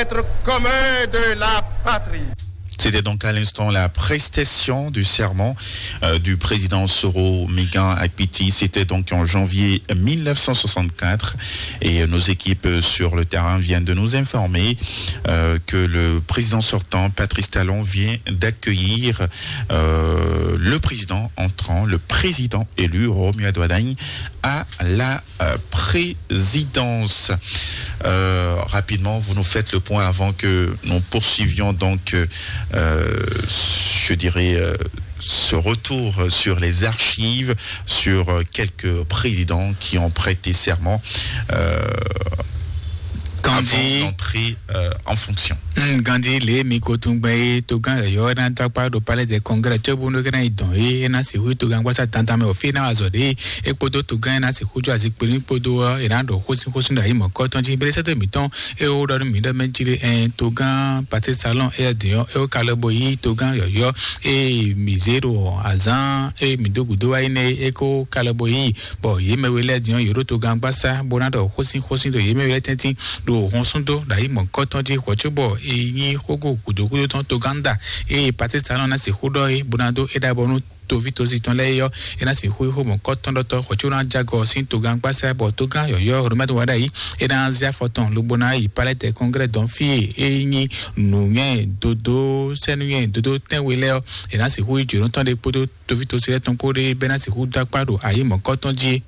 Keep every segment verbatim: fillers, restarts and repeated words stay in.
Être commun de la patrie. C'était donc à l'instant la prestation du serment, euh, du président Soro Migan Akpiti. C'était donc en janvier mille neuf cent soixante-quatre. Et nos équipes sur le terrain viennent de nous informer, euh, que le président sortant, Patrice Talon, vient d'accueillir, euh, le président entrant, le président élu, Romuald Wadagni, à la, euh, présidence. Euh, rapidement, vous nous faites le point avant que nous poursuivions donc, euh, euh, je dirais, euh, ce retour sur les archives, sur, euh, quelques présidents qui ont prêté serment, euh, Gandhi. Avant d'entrer, euh, en fonction. Mm, Gandhi lě mi ko tún gbɛn é togán yɔ̌yɔ́ ná dó akpá ɖo palais des congrès cóbónú é ná yi dɔn é é ná sixú yi togán gbásá dandan mɛ òfin ná wá zɔ ɖě é kpódó togán é ná sixú jó azikpe ní kpódó ɔ́ é ná ɖo xósínxósín ɖo ayǐ mɔ̌kɔ́tɔn jí bérésɛ́ dó mǐtɔn é ó ɖɔ nú mǐ ɖɔ mɛ jí lé ɛn togán paté salɔn é dín ɔ́ é ó ka lɔ bo yí togán yɔ̌yɔ́ é mǐ zé ɖo azǎn é mǐ dó gǔdo wá yi nɛ́ é kó ka lɔ bo yí bɔ yě mɛ we lɛ́ɛ din ɔ́, yě ɖo togán gbásá bó ná ɖɔ xósínxósín ɖo yě mɛ we lɛ́ɛ tɛ́ntin ɖo hɔnsúndó ɖo ayǐ mɔ̌hunkɔtɔn jí hwɛ̌cóbɔ é nyí xógó gǔdo gúdo tɔn togán da ée Patistalɔn ná sixú ɖɔ é bó ná dó é ɖa bɔ nú toví tosi tɔn lɛ́ɛ é ɔ́, é ná sixú xó mɔ̌hunkɔtɔn ɖɔtɔ́ hwɛ̌cóbɔ ná jágɔ sín togán gbásá bɔ togán yɔ̌yɔ́ Romɛ́d wá ɖ'ayǐ é ná zé afɔ tɔn lobo ná yi palɛ́tɛ kɔnglɛ́ dɔn fí e é nyí nǔnywɛ́ dodó sɛ́núnywɛ́ dodó tɛ́nwe lɛ́ɛ ɔ́, é ná sixú yi jǒnɔ tɔn ɖé kpódó toví tosi lɛ́ɛ tɔn kpó ɖé bɛ́ ná sixú dó akpá ɖo ayǐ mɔ̌hunkɔtɔn jí é.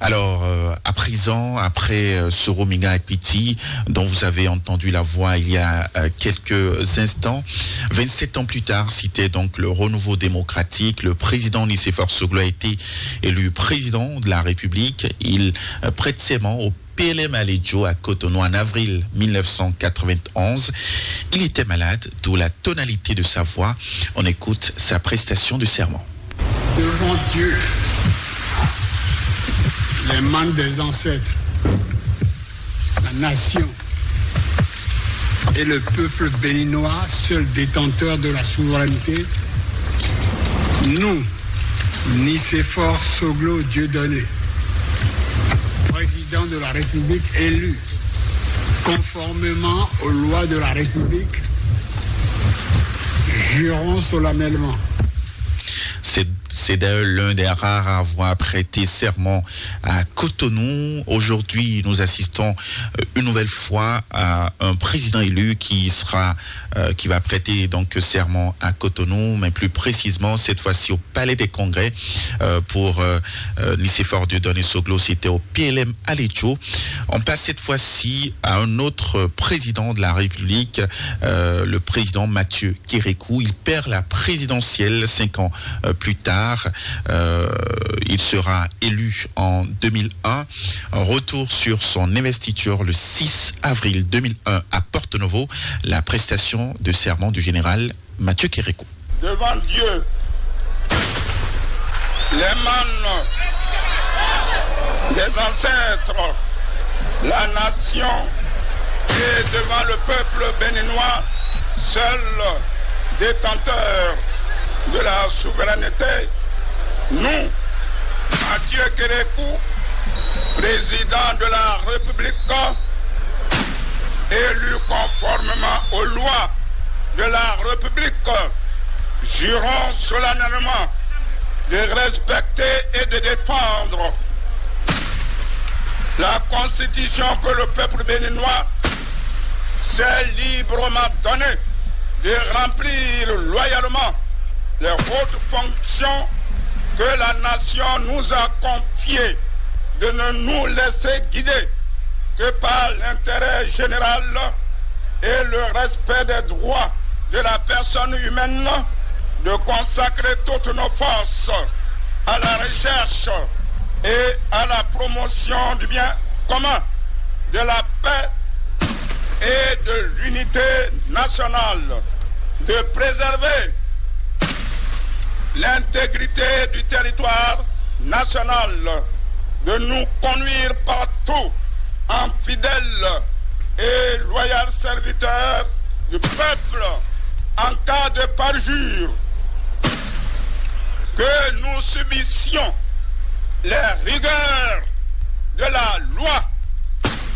Alors, euh, à présent, après, euh, Soro Migan Akpiti, dont vous avez entendu la voix il y a, euh, quelques instants, vingt-sept ans plus tard, c'était donc le renouveau démocratique. Le président Nicéphore Soglo a été élu président de la République. Il, euh, prête serment au P L M Alejo à Cotonou en avril mille neuf cent quatre-vingt-onze. Il était malade, d'où la tonalité de sa voix. On écoute sa prestation de serment. Devant Dieu, les membres des ancêtres, la nation et le peuple béninois, seul détenteur de la souveraineté, nous, Nicéphore Soglo Dieudonné, président de la République élu, conformément aux lois de la République, jurons solennellement. C'est, c'est d'ailleurs l'un des rares à avoir prêté serment à Cotonou. Aujourd'hui, nous assistons, euh, une nouvelle fois à un président élu qui sera, euh, qui va prêter donc serment à Cotonou, mais plus précisément cette fois-ci au Palais des Congrès, euh, pour, euh, euh, Nicéphore Dieudonné Soglo, c'était au P L M Alejo. On passe cette fois-ci à un autre président de la République, euh, le président Mathieu Kérékou. Il perd la présidentielle cinq ans, euh, plus tard. Euh, il sera élu en deux mille un. Retour sur son investiture le six avril deux mille un à Porto Novo. La prestation de serment du général Mathieu Kérékou. Devant Dieu, les membres des ancêtres, la nation et devant le peuple béninois, seul détenteur de la souveraineté, nous, Mathieu Kérékou, président de la République, élu conformément aux lois de la République, jurons solennellement de respecter et de défendre la constitution que le peuple béninois s'est librement donnée, de remplir loyalement les hautes fonctions que la nation nous a confiées, de ne nous laisser guider que par l'intérêt général et le respect des droits de la personne humaine, de consacrer toutes nos forces à la recherche et à la promotion du bien commun, de la paix et de l'unité nationale, de préserver l'intégrité du territoire national, de nous conduire partout en fidèles et loyaux serviteurs du peuple en cas de parjure, que nous subissions les rigueurs de la loi